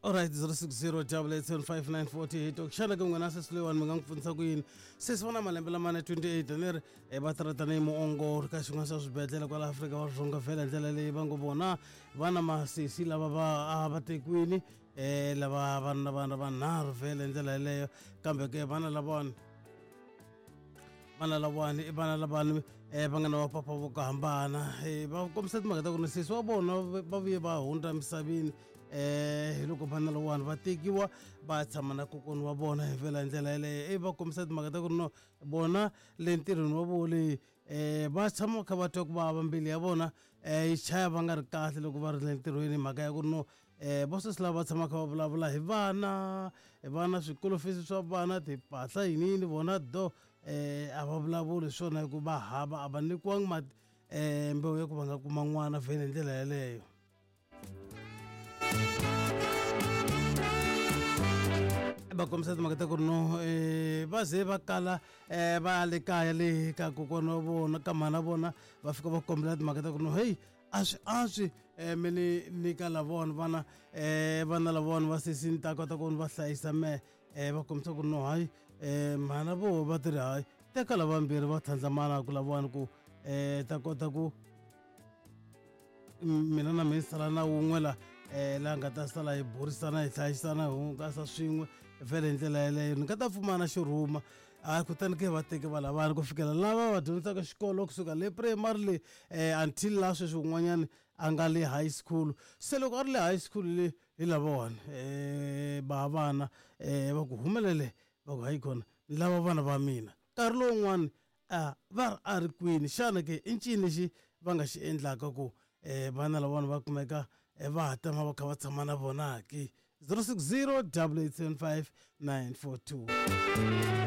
Alright, 060 8875948. Xana ke n'wina sesi loyiwani mi nga n'wi pfunisa ku yini? Sesi va na malembe lamane 28, ni ri va tirha tanihi muongori ka xin'wana xa swibedhlele kwala Afrika wa Dzonga. Vhele hi ndlela leyi va ngo vona va na masesi lava va a va tekiwini, lava vana vana vanharhu vhele hi ndlela yeleyo. Kambe ke vana lavawani, vana lavawani i vana lavani va nga na vapapa vo ku hambana. Va kombisa timhaka ta ku ri sesi wa vona va vuye va hundza emisaveni, hi loko vana lawani va tekiwa va tshama na kokwana wa vona hi vhela hi ndlela yeleyo. Va kombisa timhaka ta ku ri no vona le ntirhweni wa vona leyi, va tshama va kha va twa ku vava, mbilu ya vona yi chaya va nga ri kahle loko va ri le ntirhweni, hi mhaka ya ku ri no vo sesi lava va tshama kha va vulavula hi vana, hi vana, swikolo fees swa vana, timpahla, yini yini. Vona do, a va vulavuli swona hi ku va hava, a va nyikiwangi mati mbewu ya ku va nga kuma n'wana vhele hi ndlela yeleyo. Va kombisa timhaka ta ku ri no va ze va kala va ya le kaya le ka kokwana wa vona, ka mhana vona, va fika va kombela timhaka ta ku ri no, heyi, a swi antswi mi ni nyika lavona vana, vana lavona va sesi, ni ta kota ku ni va hlayisa mehe. Va kombisa ku ri no, hayi, mhana vo va ti ri hayi, teka lavambirhi va tlhandlamana ku lavawani ku ta kota ku mina na mina sala na wun'we la, la nga ta sala hi burisana, hi hlayisana, hi hungasa swin'we vhele hi ndlela yeleyo, ni nga ta pfumana xirhuma. A kutani ke va teke va lavani ku fikela lava va dyondzisaka xikolo kusuka le primary le until la sweswi un'wanyani a nga le high school. Se loko a ri le high school le, hi lavawani ba vana va ku humelele, va ku hayi kona ni lava vana va mina. Nkarhi lowun'wani a va ri a ri kwini? Xana ke i ncini lexi va nga xi endlaka ku vana lavawani va kumeka va ha tama va kha va tshama na vona ke? 060 875 942.